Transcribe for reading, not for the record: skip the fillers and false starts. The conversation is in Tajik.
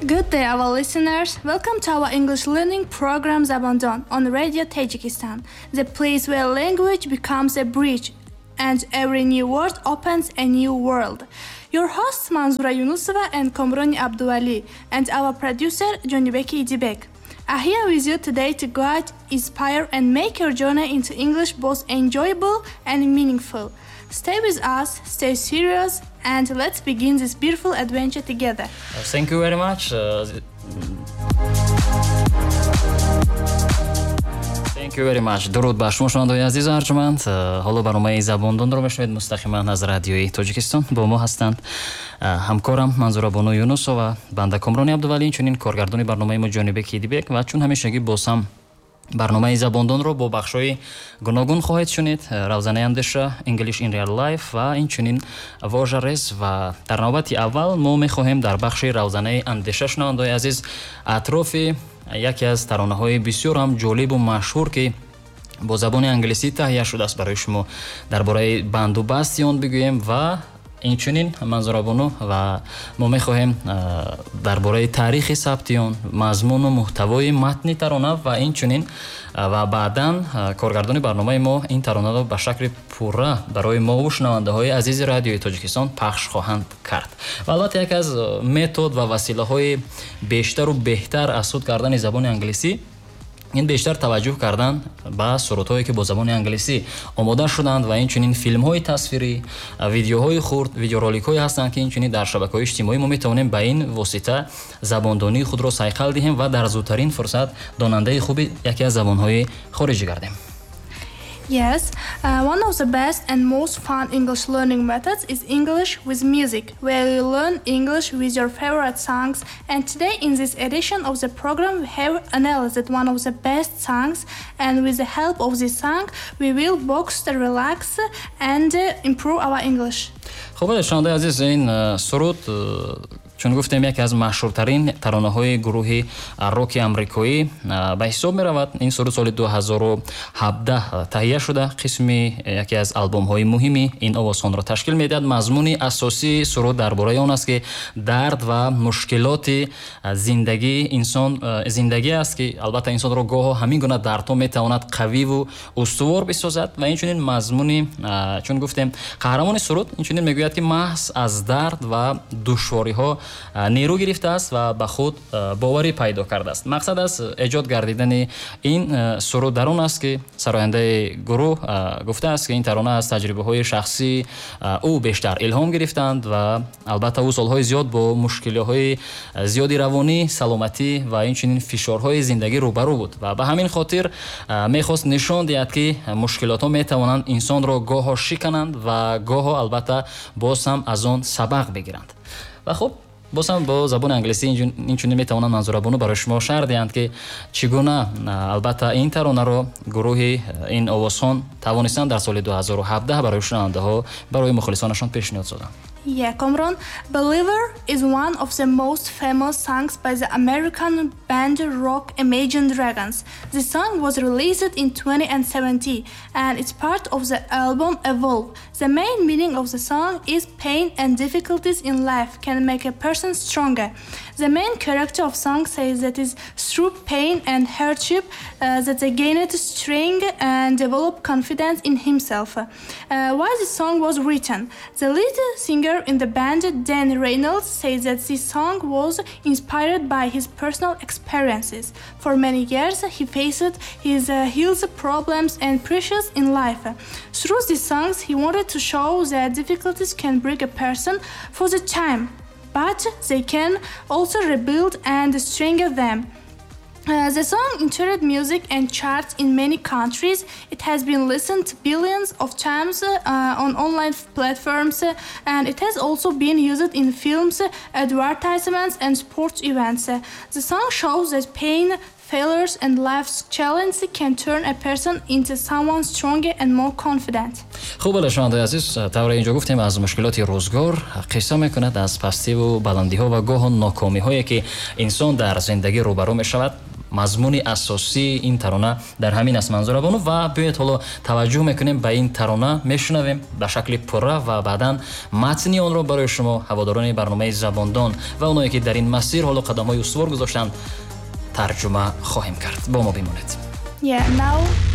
Good day, our listeners. Welcome to our English learning program Zabondon on Radio Tajikistan, the place where language becomes a bridge and every new word opens a new world. Your hosts Manzura Yunusova and Komroni Abduvali, and our producer Jonibeki Idibek are here with you today to guide, inspire, and make your journey into English both enjoyable and meaningful. Stay with us, stay serious, and let's begin this beautiful adventure together. Thank you very much. Thank you very much. Дуруд ба шумо, шунавандаҳои азизу арҷманд. Ҳоло барномаи Забондонро мешунавед мустақиман аз Радиои Тоҷикистон. Бо мо ҳастанд ҳамкорам Манзурабону Юнусова, банда Комрони Абдувалӣ, инчунин коргардони барномаи мо Ҷонибек Идибек. Ва чун ҳамешагӣ боз ҳам барномаи Забондонро бо бахшҳои гуногун хоҳед шунид: Равзанаи андеша, English in Real Life ва инчунин вожарез. Ва дар навбати аввал мо мехоҳем дар бахши Равзанаи андеша, шунавандаҳои азиз, атрофи яке аз таронаҳои бисёр ҳам ҷолибу машҳур, ки бо забони англисӣ таҳия шудааст, барои шумо дар бораи бандубасти он бигӯем. Ва инчунин, Манзурабону, ва мо мехоҳем дар бораи таърихи сабти он, мазмуну муҳтавои матни тарона ва инчунин ва баъдан коргардони барномаи мо ин таронаро ба шакли пурра барои мову шунавандаҳои азизи Радиои Тоҷикистон пахш хоҳанд кард. Ва албатта, яке аз метод ва василаҳои бештару беҳтар аз худ кардани забони англисӣ ин бештар таваҷҷӯҳ кардан ба сурудҳое, ки бо забони англисӣ омода шуданд, ва инчунин филмҳои тасвирӣ, видеоҳои хурд, видеороликҳое ҳастанд, ки инчунин дар шабакаҳои иҷтимоӣ мо метавонем ба ин восита забондонии худро сайқал диҳем ва дар зудтарин фурсат донандаи хуби яке аз забонҳои хориҷӣ гардем. Yes, one of the best and most fun English learning methods is English with music, where you learn English with your favorite songs. And today, in this edition of the program, we have analyzed one of the best songs, and with the help of this song, we will box, relax, and improve our English. Хуб, шунавандаи азиз, ин суруд, чун гуфтем, яке аз машҳуртарин таронаҳои гурӯҳи роки амрикоӣ ба ҳисоб меравад. Ин суруд соли 2017 таҳия шуда, қисми яке аз албомҳои муҳими ин овозхонро ташкил медиҳад. Мазмуни асосии суруд дар бораи он аст, ки дард ва мушкилоти зиндагии инсон, зиндагӣ аст, ки албатта инсонро гоҳо ҳамин гуна дардҳо метавонад қавиву устувор бисозад. Ва инчунин мазмуни, чун гуфтем, қаҳрамони суруд инчунин мегӯяд, ки маҳз аз дард ва душвориҳо нерӯ гирифтааст ва ба худ боварӣ пайдо кардааст. Мақсад аз эҷод гардидани ин суруд дар он аст, ки сарояндаи гурӯҳ гуфтааст, ки ин тарона аз таҷрибаҳои шахсии ӯ бештар илҳом гирифтанд. Ва албатта, ӯ солҳои зиёд бо мушкилиҳои зиёди равонӣ, саломатӣ ва инчунин фишорҳои зиндагӣ рӯбарӯ буд ва ба ҳамин хотир мехост нишон диҳад, ки мушкилотҳо метавонанд инсонро гоҳо шикананд ва гоҳо албатта боз ҳам аз он сабақ бигиранд. Ва хуб, боз ҳам бо забони англисӣ инчунин метавонанд Манзурабону барои шумо шарҳ диҳанд, ки чӣ гуна албатта ин таронаро гурӯҳи ин овозхон тавонистанд дар соли 2017 барои шунавандаҳо, барои мухлисонашон пешниҳод созанд. Yeah, Komron, "Believer" is one of the most famous songs by the American band rock Imagine Dragons. The song was released in 2017 and it's part of the album Evolve. The main meaning of the song is pain and difficulties in life can make a person stronger. The main character of song says that it's through pain and hardship that they gained strength and develop confidence in himself. Why the song was written? The lead singer in the band, Dan Reynolds, says that this song was inspired by his personal experiences. For many years, he faced his health problems and pressures in life. Through these songs, he wanted to show that difficulties can break a person for the time, but they can also rebuild and strengthen them. The song entered music and charts in many countries. It has been listened billions of times on online platforms, and it has also been used in films, advertisements, and sports events. The song shows that pain, failures, and life's challenges can turn a person into someone stronger and more confident. Хуб, бале, шунавандаи азиз, тавре инҷо гуфтем, аз мушкилоти рӯзгор қисса мекунад, аз пастиву баландиҳо ва гоҳу нокомиҳое, ки инсон дар зиндагӣ рӯбарӯ мешавад. Мазмуни асосии ин тарона дар ҳамин аст, Манзура бону. Ва биёед, ҳоло таваҷҷӯҳ мекунем ба ин тарона, мешунавем ба шакли пурра ва баъдан матни онро барои шумо, ҳаводорони барномаи Забондон ва оное ки дар ин масир ҳоло қадамҳои устувор гузоштанд, тарҷума хоҳем кард. Бо мо бимонед. Yeah, now